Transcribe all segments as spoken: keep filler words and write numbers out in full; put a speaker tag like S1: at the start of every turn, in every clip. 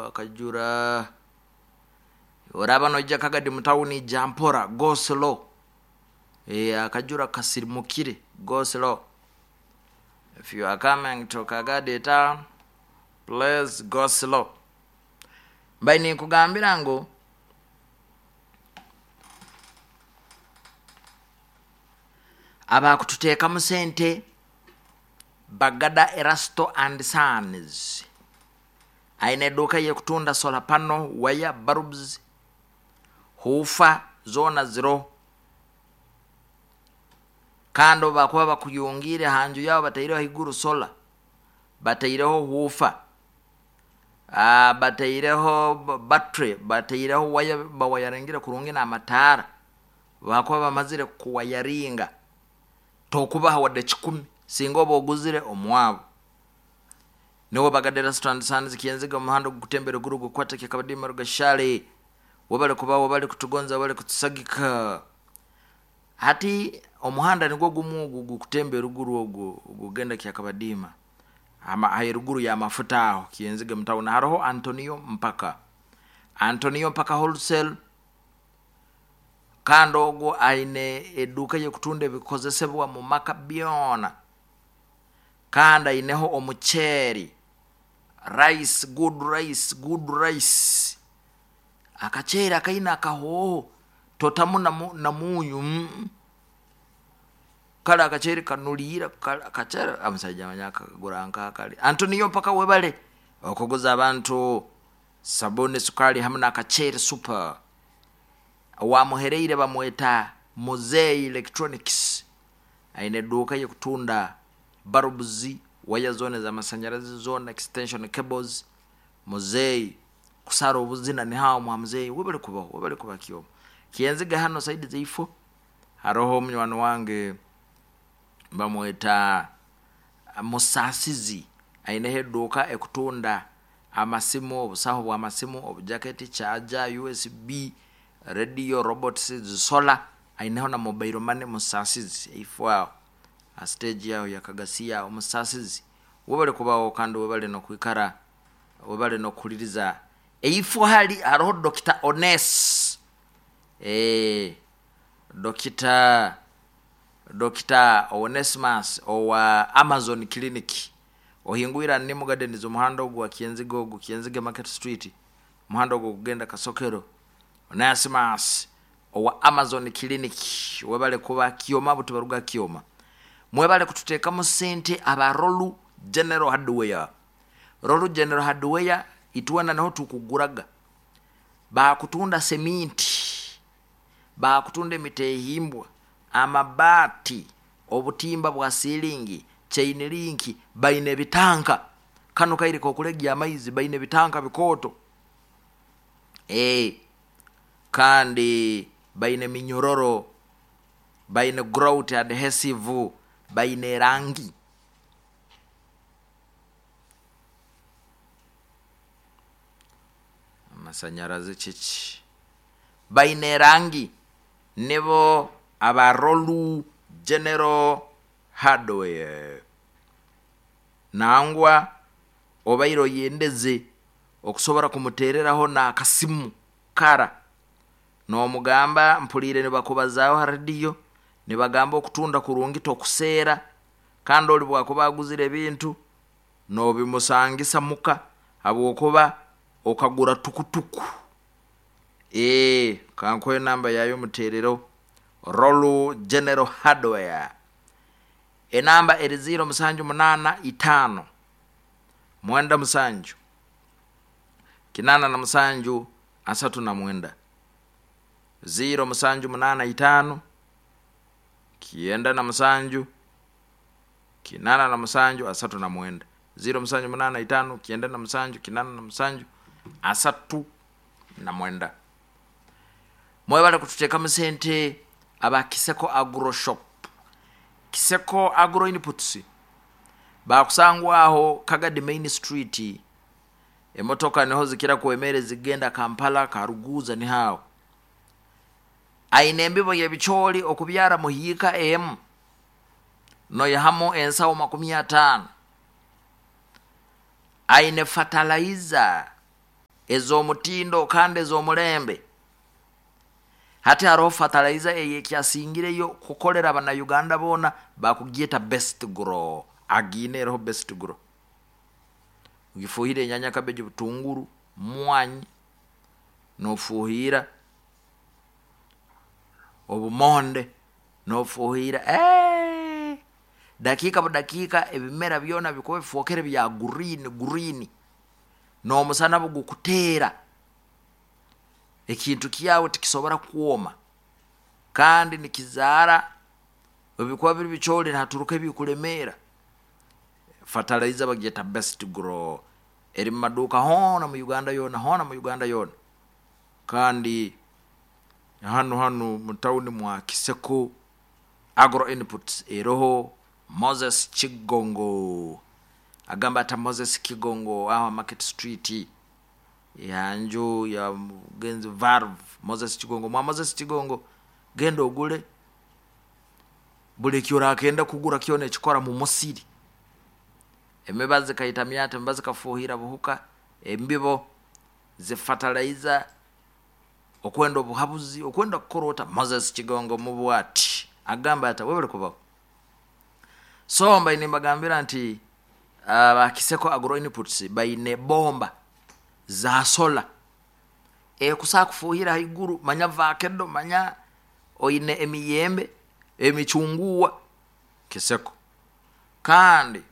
S1: Akajura oraba noija Kagadi mutawuni, jampora, go slow. E, akajura kasirimukire, go slow. If you are coming to Kagadi town, please go slow. Mbaye ninkugambira ngu abakututeekamu sente Bagada Erasto and Sons, aine eduuka yekutunda solar panel, wire, bulbs, hufa zona ziro. Kandi obu bakuba bakuyungiire hanju yabo, bataireho haiguru solar, bataireho hufa, ah, bataireho battery, bataireho waya, bawayaringire kurungi n'amataara, bakuba bamazire kuwayaringa, tokubaha wadde kikumi singa oba oguzire omwabo. Niwe Bagada Erasto and Sons, Kyenziga, omuhanda ogukutembera guru gukwata Kyakabadima Rugashale. Webale kuba, webale kutugonza, webale kutusagika. Hati omuhanda nigwo gumu ogu gukutembera ruguru, ogu gugenda Kyakabadima, ama hairuguru ya mafuta aho Kyenziga mutawuni, haroho Antonio Mpaka, Antonio Mpaka Wholesale. Kandi ogwo aine eduuka yekutunda ebikozesebwa mu maka byona, kandi aineho omuceeri, rice, good rice, good rice, akaceeri akaine akahooho, totamu na munyu. mm. Kale akaceeri kanuliira akaceeri, omusaija amanya akagura nkakali. Antonio Mpaka, webale okuguza abantu sabuni, sukali hamu n'akaceeri super. Wamuhereire bamweta Muzei Electronics, aine eduuka yekutunda bulbs, waya zona ez'amasanyarazi zona, extension cables. Muzei kusara obuzina nihaho mwa Muzei, webale kubaho, webale kuba. Kyoma Kyenziga hano side zaifo haroho omunywani wange bamweta Musasizi, aineho eduuka ekutunda amasimu, obusaho bw'amasimu, obujaketi, charger, U S B, radio, robots, solar, aineho na mobile money. Musasizi ifo aho stage yaho yakagasiya. Omusasizi, webale kubaho kandi webale nokwikara, webale nokuhuliriza. Eifo hali haroho Doctor Ones, eh, Doctor Doctor Onesmus owa Amazon Clinic, ohingwira Nimu Gardens, omuhanda ogwo wa Kyenziga, ogu Kyenziga Market Street, omuhanda ogwo gugenda Kasokero. Onesimus owa Amazon Clinic, webale kuba. Kyoma buti baruga Kyoma. Mwebale kututeekamu sente aba Rolu General Hardware. Rolu General Hardware, itwena niho tukuguraga. Bakutunda seminti, bakutunda emitehimbwa, amabaati, obutimba bwa silingi, chain link, baine ebitanka kano kaire kokulegya amaizi, baine ebitanka bikooto, e, kandi baine minyororo, baine grout adhesive, baine erangi. Amasanyarazi kiki, baine erangi. Nibo abarolu General Hardware. Nangwa obaire oyendeze okusobora kumutereraho n'akasimu kara nomugamba, mpuliire nibakubazaaho ha rediyo, nibagamba okutunda kurungi, tokuseera, kandi oli bwakuba aguzire ebintu nobimusangisa muka habwokuba okagura tukutuku. Ee, kankuhe enamba yayo muterero. Rolu General Hardware, enamba eri ziro musanju munaana itaano mwenda musanju kinana na musanju asatu na mwenda, ziro musanju munaana itaano kyenda na musanju kinana na musanju asatu na mwenda, ziro musanju munaana itaano kyenda na musanju kinana na musanju asatu na mwenda. Mwebale kututeekamu sente aba Kiseko Agro Shop, Kiseko Agro Inputs. Bakusangwaho Kagadi Main Street, emotoka niho zikira kwemere zigenda Kampala, Karuguza, nihawo. Aine embibo y'ebicooli, okubyara muhiika emu noyihamu ensawo makumi ataano. Aine fertilizer. Ez'omutindo kandi ez'omulembe. Hati haroho fertilizer eyekyasingireyo kukolera abanauganda boona, bakugyeta Best Grow. Agiine eroho Best Grow, ogifuhira enyanya, cabbage, butunguru, mwanyi, nofuhira obumonde, nofuhira eee, dakiika budakiika ebimera byona bikuba bifwokere bya green green. N'omusana bugukuteera, ekintu kyawe tikisobora kwoma, kandi nikizaara. Obubikuba biri bicooli, nihaturuka ebikulemeera. Fertilizer bagyeta Best Grow, eri mu maduuka hoona mu Uganda yoona, hoona mu Uganda yoona. Kandi hanu hanu mu tawuni mwa Kiseko Agro Inputs eroho. Moses Kigongo agamba ata? Moses Kigongo aho Market Street, yanju ya mugenzi Valve. Moses Kigongo, mwa Moses Kigongo, genda ogule buli ekyorakenda kugura kyona ekikora mu musiri. Emibazi kaitamyata, emibazi kafuhira buhuka, embibo zifertilizer, okwenda obuhabuzi, okwenda kukora ota, Moses Kigongo mubwati agamba ata? Webale kubaho. So mbaine nimbagambira nti aba Kiseko Agro Inputs baine bomba za solar ekusaa kufuhira haiguru, manya vakedo, manya oine emiyembe, emicunguwa. Kiseko kandi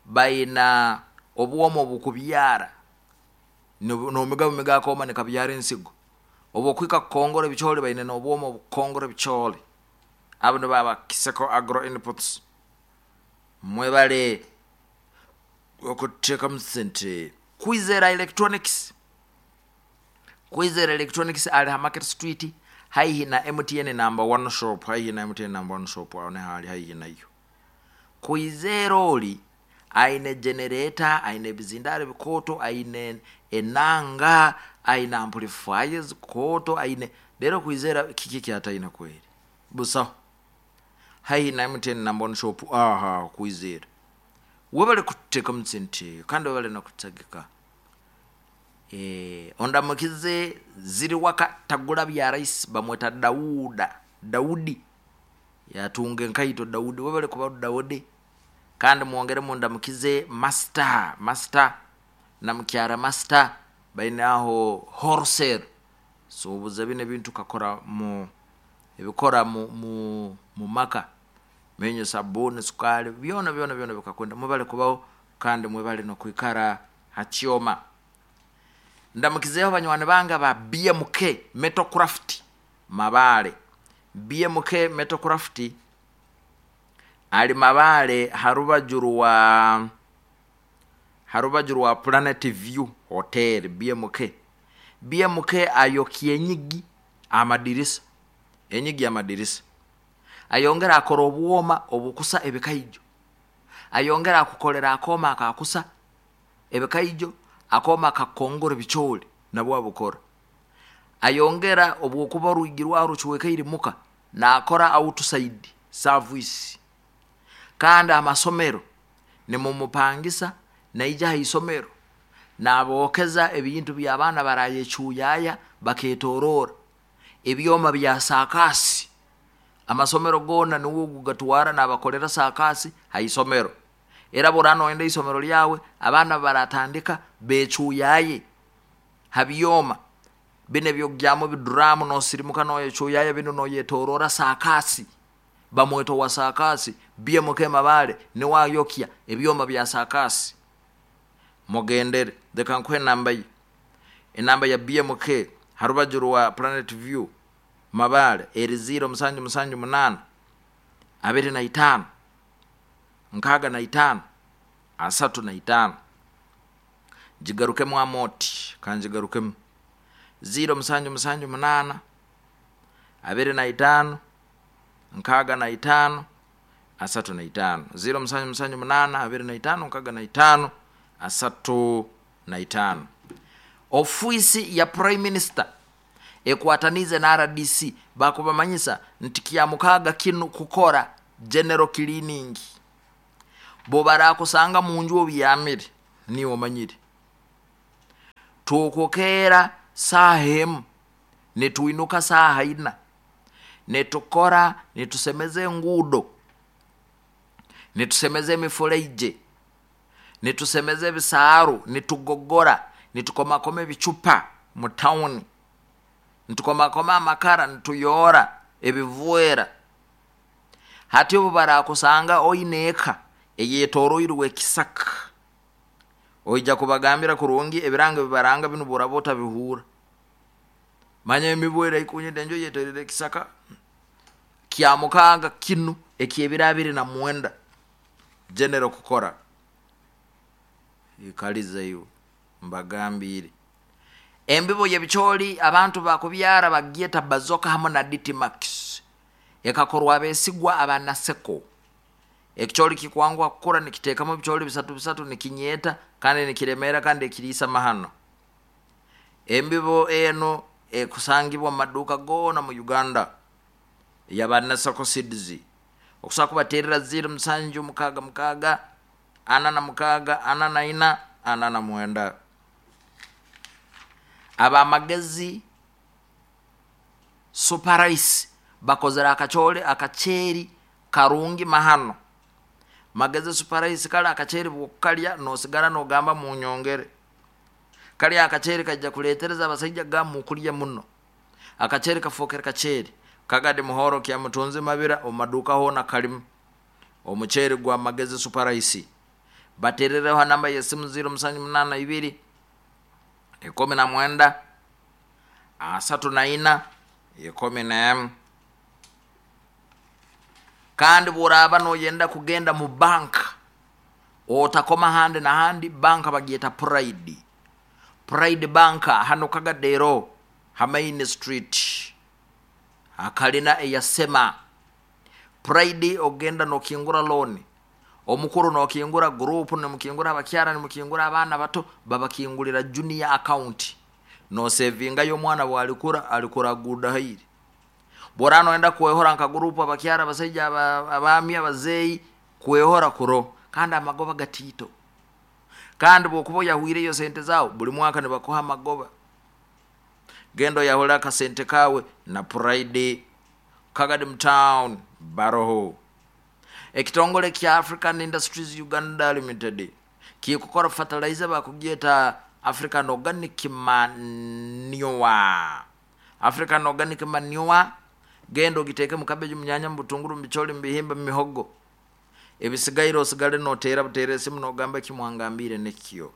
S1: baina obwoma obukubyara, nomiga bumiga akooma nikabyara ensigo. Obwokuhika kukongora ebicooli, baine n'obwoma obukukongora ebicooli. Abo nibo aba Kiseko Agro Inputs. Mwebale okuteekamu sente. Kwizera Electronics, Kwizera Electronics ali ha Market Street, haihi na M T N number one shop, haihi na M T N number one shop, aho niho ali, haihi nayo. Kwizera oli aine generator, aine ebizindaro ebikooto, aine enanga, aine amplifiers kooto, aine rero. Kwizera kiki kyataine kweri? Busaho. Haihi na M T N number one shop aha. Kwizera, webale kuteekamu sente kandi webale nokutegeka. e, ondamukize ziri waka tagula bya rahisi, bamweta Dauda, Daudi yatunga enkaito. Daudi, webale kuba Daudi. Kandi mwongere mundamukize master, master na mukyara master, baine aho wholesale. Suubuza bino ebintu kakora mu ebikora mu, mu, mu maka, menyo, sabuni, sukali, byona byona byona bikakwenda. Mwebale kubaho kandi mwebale nokwikara hakyoma. Ndamukizeho banywani bange ba B M K Metalcraft Mabale. B M K Metalcraft ali Mabale, harubaju rwa harubaju rwa Planet View Hotel. B M K, B M K ayokya enyigi, amadirisa, enyigi, amadirisa. Ayongera akora obwoma obukusa ebikaijo, ayongera akukolera akooma akakusa ebikaijo, akooma kakongora ebicooli nabwo abukora. Ayongera obwokuba orwigi rwawe rucwekaire muka, nakora outside service. Kandi amasomero nimumupangisa, naija ha isomero nabookeza ebintu by'abaana barayecuyaya baketorora, ebyoma bya saakasi. Amasomero goona niwe gugatwara, nabakolera saakasi ha isomero. Era bwora noyenda isomero lyawe abaana baratandika becuyaye ha byoma bino ebyokugyamu ebiduramu, nosirimuka noyecuyaye bino, noyetorora saakasi, bamweta wa saakasi. B M K Mabale niwe ayokya ebyoma bya saakasi. Mugendere, leka nkuhe enamba ye, enamba ya B M K harubaju rwa Planet View Mabale eri ziro musanju musanju munaana abiri na itaano nkaaga na itaano asatu na itaano. Gigarukemu amoti, kangigarukemu: ziro musanju musanju munaana abiri na itaano nkaaga na itaano asatu na itaano, ziro musanju musanju munaana abiri na itaano nkaaga na itaano asatu na itaano. Ofiisi ya Prime Minister ekwatanize na R D C bakubamanyisa nti kyamukaaga kinu kukora general cleaning. Bo barakusanga munju obyamire, niwe omanyire. Tukukera saaha emu nituinuka saaha ina, nitukora, nitusemeza enguudo, nitusemeza emifuleije, nitusemeza ebisaaru, nitugogora, nitukomakoma ebicupa mu tawuni, nitukomakoma amakara, nituyoora ebivwera. Hati obu barakusanga oine eka eyetoroirwe ekisaka, oija kubagambira kurungi ebirango ebibaranga binu bworaba otabihuura. Manya emibu eraikunyita, enju eyetoroirwe ekisaka kya mukaaga kinu ekyebiro abiri na mwenda genero kukora ikaliza iwe mbagambiire. Embibo y'ebicooli abantu bakubyara bagyeta Bazoka hamu na Dtmax, ekakorwa abesigwa aba Naseko. Ekicooli kikwanguha kukura, nikiteekamu ebicooli bisatu bisatu, nikinyeeta kandi nikiremeera kandi ekiriisa mahano. Embibo enu ekusangibwa mu maduuka goona mu Uganda yaba Naseko Seeds. Okusobola kubateerera ziro musanju mukaaga mukaaga ana na mukaaga ana na ina ana na mwenda. Abamagezi Super Rice bakozere akacooli akaceeri karungi mahano. Magezi Super Rice kale akaceeri bwokukalya nosigara nogamba munyongere. Kali akaceeri kaija kuleetereza abasaija kugamba mukulya muno. Akaceeri kafookere kaceeri Kagadi Muhoro Kyamutunzi Mabira omu maduuka hoona kalimu omuceeri gwa Magezi Super Rice. Bateerereho ha namba y'esimu ziro musanju munaana ibiri ikumi na mwenda asatu na ina ikumi n'emu. Kandi bworaaba noyenda kugenda mu banka, otakoma handi na handi, banka bagyeta Pride. Pride Bank hano Kagadero ha Main Street akalina eyasema. Pride ogenda nokingura loan, omukuru nokingura group, nimukingura abakyara, nimukingura abaana bato, babakingulira junior account, nosevingayo omwana bwalikura alikura guda hairi. Bworaba noyenda kwehora nka group abakyara, abasaija, abaami, abazeeyi, kwehora kuro, kandi amagoba gatiito. Kandi bwokuba oyahwireyo sente zaawe, buli mwaka nibakuha amagoba. Genda oyahule akasente kawe na Pride. Kagadi Town baroho. Ekitongole kya African Industries Uganda Limited kikukora fertilizer bakugyeta African Organic Manure. African Organic Manure genda ogiteeke mu cabbage, mu nyanya, mu butunguru, mu bicooli, mu bihimba, mu mihogo. Ebisigaire osigale noteera buteera esimu nogamba ekimwangambire nikyo.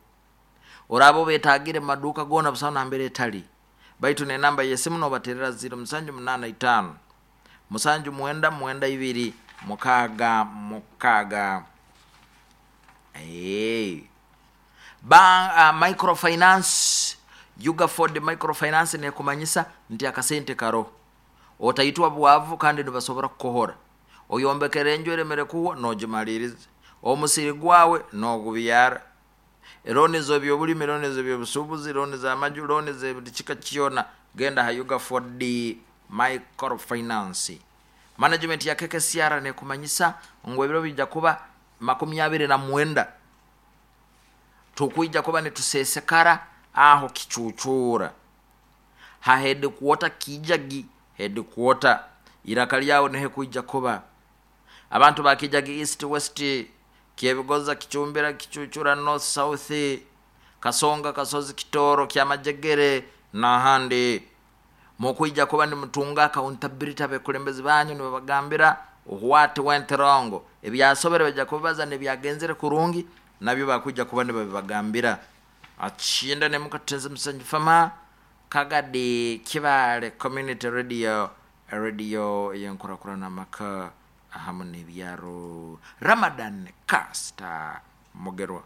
S1: Oraaba obetagire mu maduuka goona busaho nambere etali, baitu n'enamba y'esimu nobateerera ziro musanju munaana itaano musanju mwenda mwenda ibiri mukaaga mukaaga. Hey. Ba, uh, microfinance Ugaford microfinance nekumanyisa nti akasente karo otaitwa bwavu kandi nibasobora kukuhora. Oyombekere enju eremere kuhwa nogimaliriza, omusiri gwawe nogubyara, looni z'ebyobulimi, looni z'ebyobusuubuzi, looni z'amaju, looni z'ebuli kika kyona, genda ha Ugaford microfinance. Management ya K K C R nekumanyisa ngu ebiro bijja kuba makumi abiri na mwenda tukwija kuba nitusesekara aho kicucura ha headquarter Kijagi headquarter iraka lyawo nihe kuija kuba abantu ba Kijagi East West, Kyebigoza, Kichumbira, Kichuchura, North South, Kasonga, Kasozi, Kitoro, Kyamajegere n'ahandi. Mukwija kuba nimutunga accountability abekulembezi banyu nibabagambira what went wrong, ebyasobere bajja kubaza nebyagenzere kurungi nabyo bakwija kuba nibabibagambira. Achinda ne mukatenze Musanju Fama Kagadi Kibale Community Radio, radio yenkurakurana maka ahamu n'ebyaro. Ramadan Caster Mugerwa.